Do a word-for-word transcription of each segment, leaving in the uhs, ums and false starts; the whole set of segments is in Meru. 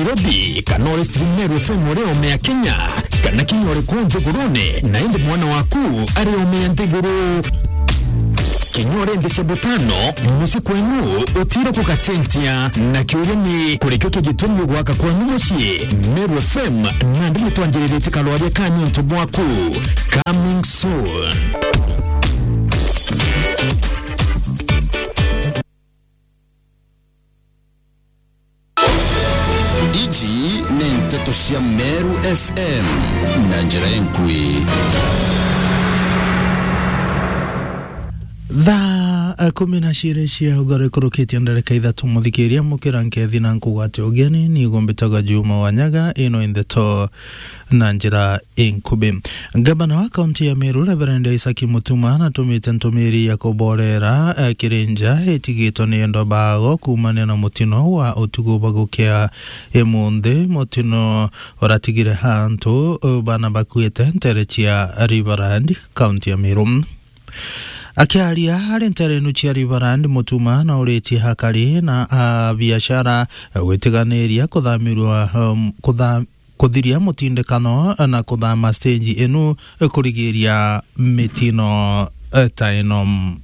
Nairobi, kana uri stream Meru F M uri ome ya Kenya, kana kinya uri kuu nthigurune, na indi mwana waku ari ome ya nthiguru. Kinya uri nthi cia butano, mucii kwenu utire kugacenjia. Na kiuria ni, kuri kio kigitumi gwaka kwanyu mucii? Meru F M nandi nitwanjiriritie karwaria ka niuntu bwaku. Coming soon. Iji ni nteto cia Meru F M na njira inkui. Thaa, eh, kumi na ciiri cia ugoro ikurukitie ndarika ithatu, muthikiria mukira nkethi na nkugwate ugeni, ni gumbitaga Juma Wanyaga, ino i ndeto na njira inkubi. Ngavana wa kaunti ya Meru, Reverend Isaac Mutuma, natumite ntumiri ya kuborera, eh, kiri nja itigitwe ni endo bago kuumania na mutino wa utuku bagukia imunthi, mutino uratigire antu, eh, bana bakuite ntere cia Riverland, kaunti ya Meru. Akiaria ari nterenu cia Riverland, Mutuma nauritie akari na a biashara, eh, gwitiganiria kuthamirwa, um, kutha-, kuthiria mutindikano na kuthama stage inu kurigiria mitino, eh, ta ino.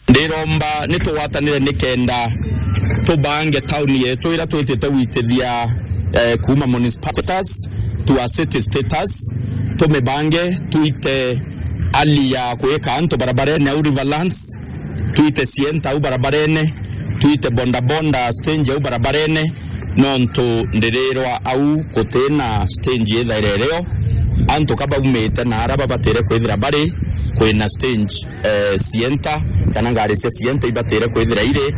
Ndiromba ni tugwatanire nikenda tubange tauni yetu ira twitite gwitithia, eh, kuuma municipal status to a city status, tumibange, twite hali ya kwika antu barabarene au Riverlands, twite cienta au barabarene, twite bondabonda stage au barabarene, nontu ndirirwa au gutina stage ithaire rio. Antu ka baumite na ara babatire kwithira bari, kwina stage, eh, cienta, kana ngari cia cienta ibatire kwithira iri,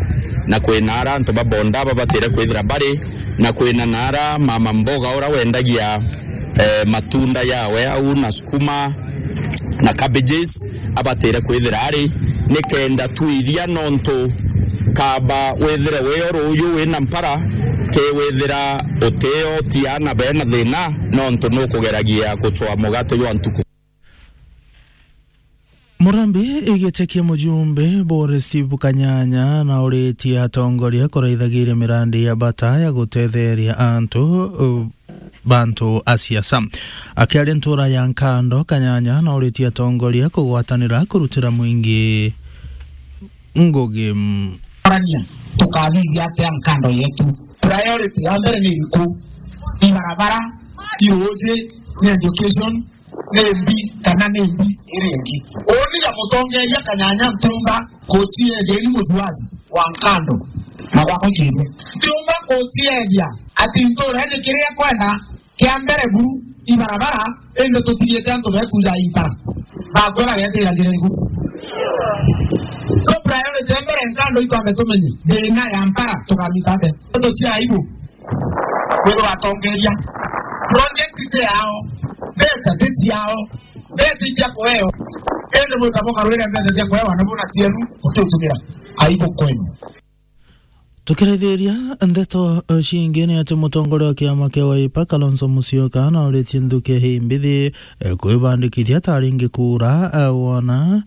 na kwina ara antu ba bonda babatire kwithira bari, na kwina na ara mama mboga ura wendagia, eh, matunda yawe au na sukuma, na cabbages abatire kwithira ari, nikenda twiria, nontu kaba withire wio ruuyu wina mpara, ke withira utio ti ana bena thina, nontu nukugeragia gucwa mugate jwa ntuku. Murambi igite kia mujumbe Bore Steve Kanyanya nauritie atongoria kuraithagiria mirandi ya bata ya gutetheria antu, uh, bantu a siasa. Akiaria ntura ya Nkando, Kanyanya nauritie atongoria kugwatanira kurutira mwingi ngugi. Arania, tukathithia atia Nkando yetu? Priority ya mbere ni iriku? Ibarabara, iruuji, ni education, ni mbi kana ni mbi iri ingi? Uni ya mutongeria Kanyanya ntiumba kuciethia ni mujuaji wa Nkando na gwakwa kiirwe. Ntiumba kuciethia ati ntura ni kiria kwenda kia mbere buru ibarabara, indi tutigite antu bekuja impara. Bakwe bagetira njira iriku? So priority ya mbere Nkando itwambe tumenye thina ya mpara tukamita atia. Ndeto cia aibu. Kwithirwa atongeria, project ti yao, mbeca ti ciao, mbeca icia kuheo, indi mwita bukarwire mbeca cia kuhewa na buna cienu utitumira. Aibu kwenu. Tukirithiria ndeto, eh, cingi ni ati mutongoria wa kiama kia Wiper, Kalonzo Musyoka, nauritie nthuki hii mbithi, eh, kwibandikithia ta aringi kura, eh, wona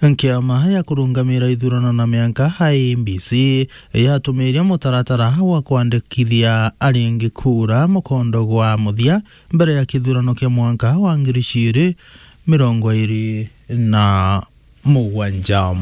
Nkiama ya kurungamira ithurano na mianka, I E B C, yatumiria mutaratara wa kwandikithia aringi kura mukondo gwa muthia mbere ya kithurano kia mwanka wa ngiri ciiri mirongo iri na mugwanja.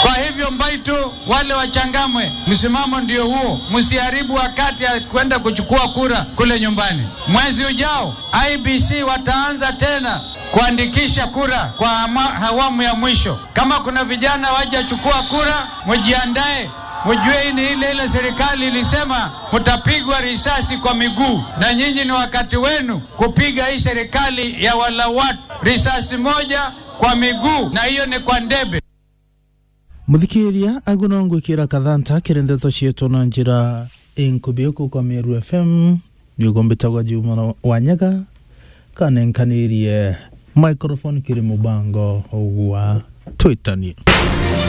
Kwa hivyo, Mbaitu, wale wa Changamwe, msimamo ndio huo, msiharibu wakati ya kwenda kuchukua kura kule nyumbani. Mwezi ujao, I E B C wataanza tena kuandikisha kura kwa ama-, awamu ya mwisho. Kama kuna vijana wajachukua kura, mujiandae, mujue hii ni ile ile serikali ilisema mutapigwa risasi kwa miguu, na nyinyi ni wakati wenu kupiga hii serikali ya wala watu risasi moja kwa miguu, na hiyo ni kwa ndebe. Muthikiria, agu no ngwikira kathanta kiri ndeto cietu na njira inkubi uku kwa Meru F M. Niugo mbitagwa Juma Wanyaga, kanenkanirie microphone kiri mubango wa Twitanie.